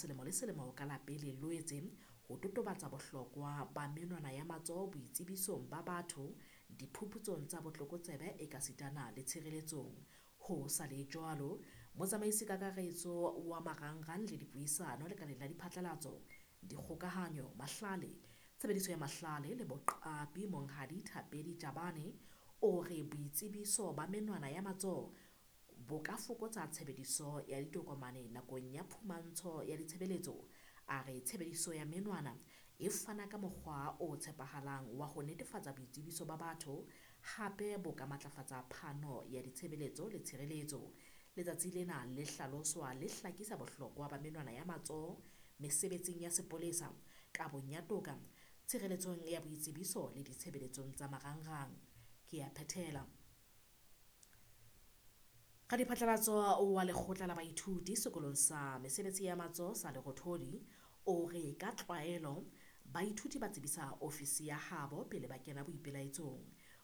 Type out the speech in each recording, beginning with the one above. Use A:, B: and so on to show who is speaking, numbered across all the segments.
A: Selemo le selemo ka la pele Loetse ho totobatsa bohlokwa ba menwana ya matsoho boitsebisong ba batho, diphuputsong tsa botlokotsebe ekasitana le tshireletsong. Ho sa le jwalo, motsamaisi kakaretso wa marangrang le dipuisano lekaleng la diphatlalatso, dikgokahanyo, mahlale, tshebediso ya mahlale le boqapi Monghadi Thapedi Jabane o re boitsebiso ba menwana ya matsoho bo ka fokotsa tshebediso ya ditokomane nakong ya phumantsho ya ditshebeletso. A re tshebediso ya menwana e fana ka mokgwa o tshepahalang wa ho netefatsa boitsebiso ba batho, hape bo ka matlafatsa phano ya ditshebeletso le tshireletso. Letsatsi lena le hlaloswa le hlakisa bohlokwa ba menwana ya matsoho mesebetsing ya sepolesa, kabong ya toka, tshireletsong ya boitsebiso le ditshebeletsong tsa marangrang. Ke a phethela. Radiphatlalatso wa lekgotla la baithuti sekolong sa mesebetsi ya matsoho sa Lerothodi o re ka tlwaelo baithuti ba tsebisa ofisi ya habo pele ba kena boipelaetsong.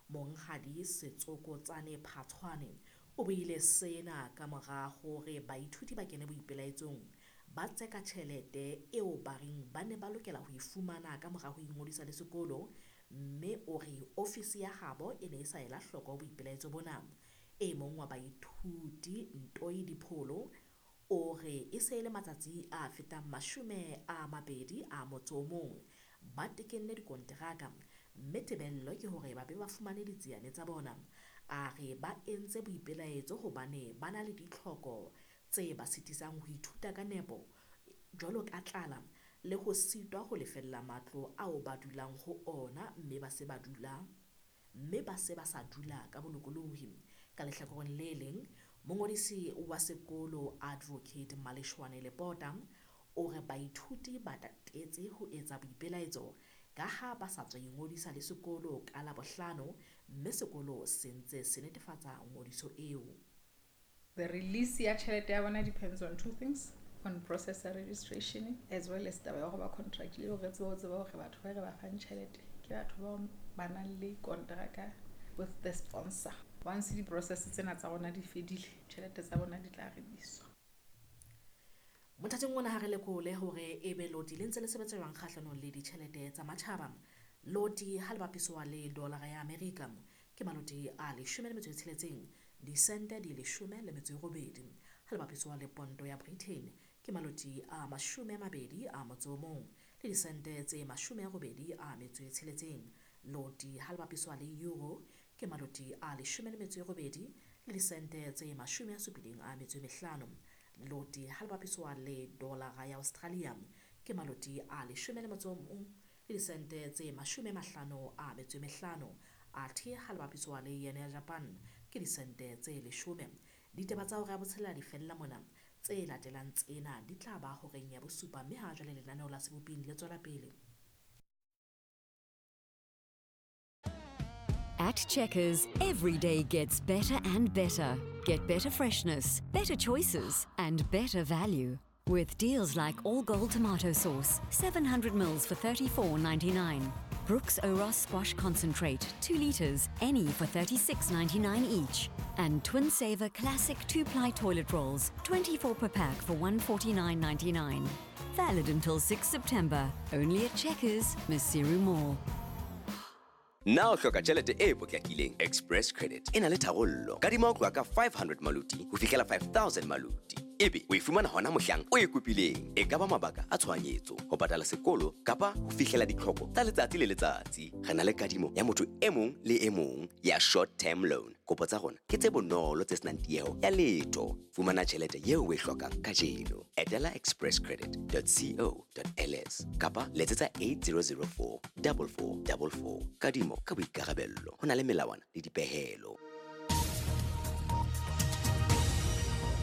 A: Monghadi Setsokotsane Phatshwane o buile sena ka mora hore baithuti ba kene boipelaetsong ba tseka tjhelete eo ba reng ba ne ba lokela ho e fumana ka mora ho ingodisa le sekolo, mme o re ofisi ya habo e ne e sa ela hloko boipelaetso bona. E mong wa baithuti Ntoi Dipholo o re e se e le matsatsi a fetang 21 ba tekenne dikonteraka, mme tebello ke hore ba be ba fumane ditsiane tsa bona. A re ba entse boipelaetso hobane ba na le ditlhoko tse ba sitisang ho ithuta ka nepo jwalo ka tlala le ho sitwa ho lefella matlo ao ba dulang ho ona mme ba se ba sa dula ka bolokolohi. Ka lehlakoreng le leng, mongodisi wa sekolo Advocate Maleshwane Lepota o re baithuti ba tatetse ho etsa boipelaetso ka ha ba sa tswa ingodisa le sekolo ka Labohlano, mme sekolo se ntse se netefatsa ngodiso eo.
B: The release ya tjhelete ya bona depends on two things, on processor registration as well as taba ya go ba contract le hore tsebe ho tseba hore batho ba re ba fang tjhelete ke batho ba ba nang le kontraka with the sponsor. Once di-process tsena tsa rona di fedile, tjhelete tsa bona di tla releaswa.
A: Mothating ona ha re lekole hore ebe loti le ntse le sebetsa jwang kgahlanong le ditjhelete tsa matjhaba. Loti ha le bapiswa le dolara ya Amerika ke maloti a 16 disente di 18. Ha le bapiswa le ponto ya Britain ke maloti a 21 le disente tse 86. Loti ha le bapiswa le euro ke maloti a 18 le disente tse 75. Loti ha le bapiswa le dolara ya Australia ke maloti a 11 le disente tse 55. Athe ha le bapiswa le yen ya Japan ke disente tse 10. Ditaba tsa hora ya botshelela di fella mona. Tse latelang tsena di tla ba horeng ya bosupa, mme ha jwale lenaneo la Seboping le tswela pele.
C: At Checkers, every day gets better and better. Get better freshness, better choices, and better value. With deals like All Gold tomato sauce, 700 mils for $34.99. Brooks Oros squash concentrate, 2 litres, any for $36.99 each. And Twin Saver classic 2-ply toilet rolls, 24 per pack for $149.99. Valid until 6 September. Only at Checkers, Maseru Mall.
D: Na o hloka tjhelete e potlakileng? Express Credit e na le tharollo. Kadima ho tloha ka 500 maloti ho fihlela 5000 maloti. Ebe o e fumana hona mohlang o e kopileng. E ka ba mabaka a tshohanyetso, ho patala sekolo kapa ho fihlela ditlhoko tsa letsatsi le letsatsi. Re na le kadimo ya motho e mong le e mong ya short term loan. Kopo tsa rona ke tse bonolo tse senang tieho ya letho. Fumana tjhelete eo o e hlokang kajeno. Etela expresscredit.co.ls kapa letsetsa 8004 4444. Kadimo ka boikarabello. Ho na le melawana le dipehelo.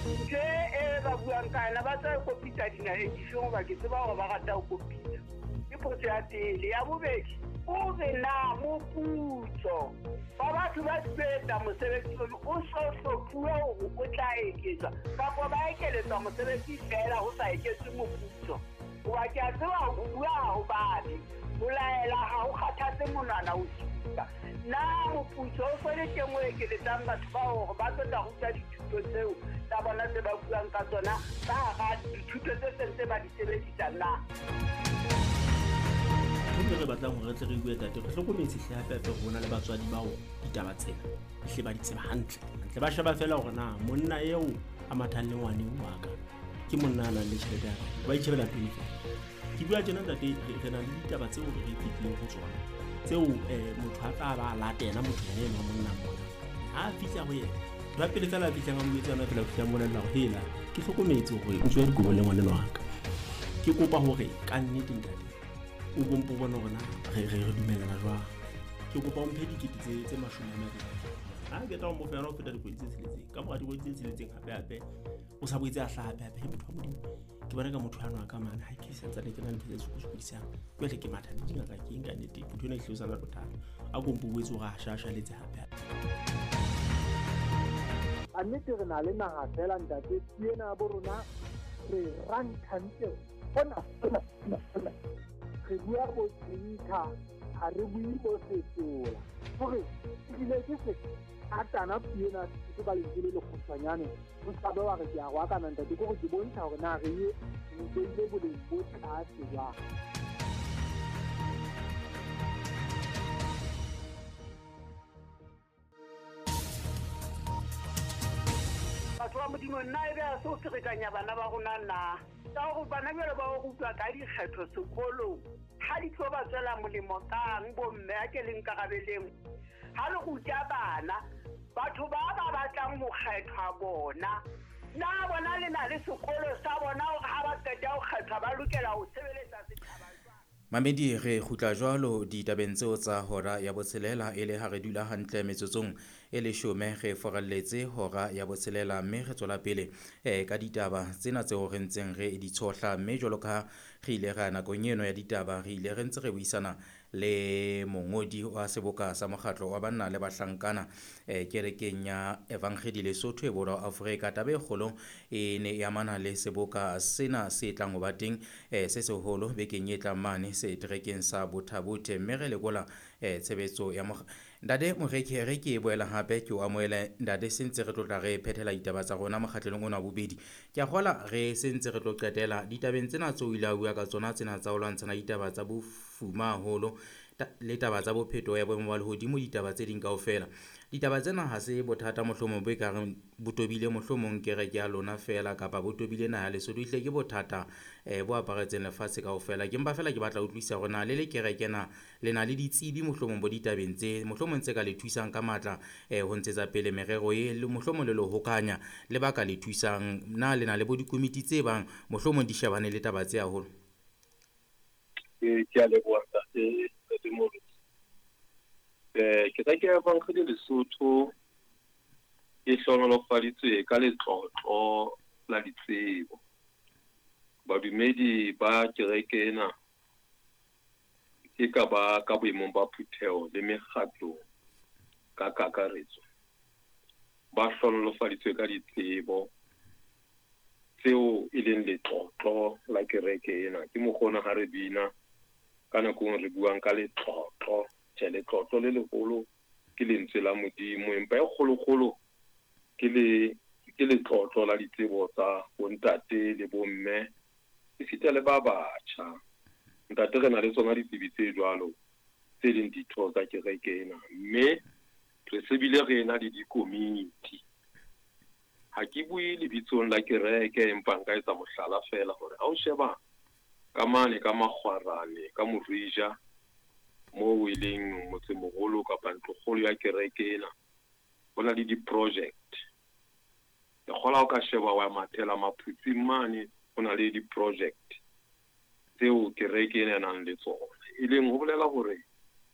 E: Ntho e ba buang ka yona ba tla kopitsa dinaheng dife hoba ke tseba hore ba rata ho kopitsa. Ke potso ya pele. Ya bobedi, O re na moputso ba batho ba sebetsa mosebetsi ono o so hlophuwe hore o tla eketswa kapa ba ekeletswa mosebetsi feela ho sa eketswe moputso. Hoba ke a tseba ho bua ha ho babe, ho laela ha ho kgathatse monwana o supa. Na moputso o so le teng o ekeletsang batho bao hore ba tlo tla ruta dithuto tseo tsa bona tse ba buang ka tsona ka hara dithuto tse seng tse ba di sebedisang na?
F: Ntho e re batlang hore re tle re bue tate, re hlokometse hle hape hape hore ho na le batswadi bao ditaba tsena hle ba di tseba hantle. Hantle ba sheba feela hore na monna eo a mathang le ngwaneng wa ka ke monna a nang le tjhelete ya kae, ba itjhebela pele feela. Ke bua tjena ntate, re na le ditaba tseo re fetileng ho tsona tseo motho a tla ba a latela motho yena enwa monna mona. Ha a fihla ho yena, ntho ya pele feela a fihlang a mo jwetsa yona feela, o fihla a mmolella hore hela ke hlokometse hore o tswa dikobo le ngwanenwa wa ka. Ke kopa hore ka nnete ntate o bompo bone hore na re dumellana jwang. Ke kopa o mphe dikete tse 20. Ha ke tla o mo fa yona ho feta dikgwedi tse tsheletseng. Ka mora dikgwedi tse tsheletseng hape hape o sa boetse a hlaha hape hape. He motho wa Modimo, ke bona ka motho ano a ka mane ha ke santsane ke na le ntho tse sokodisang. Jwale ke matha le dingaka ke eng ka nnete, motho ena e hlile o sa na le bothata. A ko mpo boetse hore a shashaletse hape hape.
G: A nnete re na le naha feela ntate, ke ena ya bo rona re ranthantle hona hona hona. Re bua bo tsinka, ha re bue bo setola. Hore ebile ke se atana puo ena ke ka lentswe le lekgutshwanyane, o ska be wa re ke a roakana ntate, ke hore ke bontsha hore na re e nkeile boleng bo tlase jwang.
E: Batho ba Modimo, nna ebe ha se ho ferekanya bana ba rona na? Ka hore bana jwale ba o rutwa ka dikgetho sekolong, ha di tlo ba tswela molemo kang bomme a ke le nkarabeleng. Ha le ruta bana, batho ba ba batlang ho kgethwa bona, na bona le na le sekolo sa bona hore ha ba qeta ho kgethwa ba lokela ho sebeletsa setjhaba jwang?
H: Mamedi, re kgutla jwalo ditabeng tseo tsa hora ya botshelela e le ha re dula hantle metsotsong e leshome re foralletse hora ya botshelela, mme re tswela pele ka ditaba tsena tseo re ntseng re di tshohla. Mme jwalo ka re ile ra nakong eno ya ditaba, re ile re ntse re buisana le mongodi wa seboka sa mokgatlo wa banna le bahlankana kerekeng ya Evangeli Lesotho e Borwa Afrika. Taba e kgolo e ne e amana le seboka sena se tlang ho ba teng se seholo bekeng e tlang mane seterekeng sa Botha-Bothe, mme re lekola tshebetso ya Ntate Moreki, re ke e boela hape ke o amohele ntate, se ntse re tlo tla re phethela ditaba tsa rona mokgatlelong ona wa bobedi. Ke a kgola re se ntse re tlo qetela ditabeng tsena tseo o ile a bua ka tsona tsena tsa ho lwantshana ditaba tsa bofuma haholo le taba tsa bophetoho ya boemo ba lehodimo, ditaba tse ding kaofela. Ditaba tsena ha se bothata mohlomong bo ekareng bo tobile mohlomong kereke ya lona feela kapa bo tobile naha ya Lesotho, ehlile ke bothata bo aparetseng lefatshe kaofela. Ke mpa feela ke batla ho utlwisisa hore na le le kereke na le na le ditsebi mohlomong bo ditabeng tse mohlomong tse ka le thusang ka matla ho ntshetsa pele merero e le mohlomong le le hokanya le ba ka le thusang, na le na le bo dikomiti tse bang mohlomong di shebane le taba tse haholo?
I: Ke a leboha ntate Moruti. Kereke ya Evangeli Lesotho e hlohonolofaditswe ka letlotlo la ditsebo. Badumedi ba kereke ena e ka ba ka boemong ba phutheho le mekgatlo ka kakaretso, ba hlohonolofaditswe ka ditsebo tseo e leng letlotlo la kereke ena. Ke mokgona ha re bina ka nako e re buang ka letlotlo, tjhe, letlotlo le leholo ke lentswe la Modimo, empa e kgolokgolo ke letlotlo la ditsebo tsa bontate le bomme esita le ba batjha. Ntate, re na le tsona ditsebi tse jwalo tse leng ditho tsa kereke ena, mme re se bile re ena le dikomiti. Ha ke bue lebitsong la kereke, empa nka etsa mohlala feela hore ha o sheba ka mane ka Makgwarane ka Morija moo e leng motsemoholo kapa ntlokgolo ya kereke ena, ho na le di-project. Ke kgola o ka sheba wa mathela Maphutsing mane, ho na le di-project tseo kereke ena e nang le tsona, e leng ho bolela hore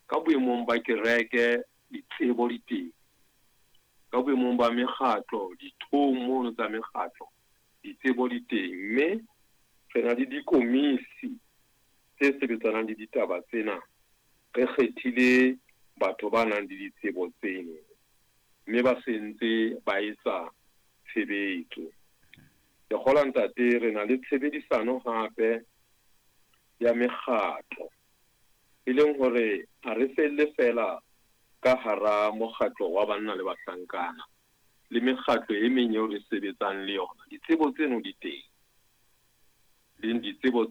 I: ka boemong ba kereke ditsebo di teng, ka boemong ba mekgatlo dithong mono tsa mekgatlo ditsebo di teng, mme re na le dikomisi tse sebetsanang le ditaba tsena Re kgethile batho ba nang le ditsebo tseno mme ba se ntse ba etsa tshebetso. Ke kgolwa ntate re na le tshebedisano hape ya mekgatlo, e leng hore ha re felle feela ka hara mokgatlo wa banna le bahlankana le mekgatlo e meng eo re sebetsang le yona. Ditsebo tseno di teng, leng ditsebo.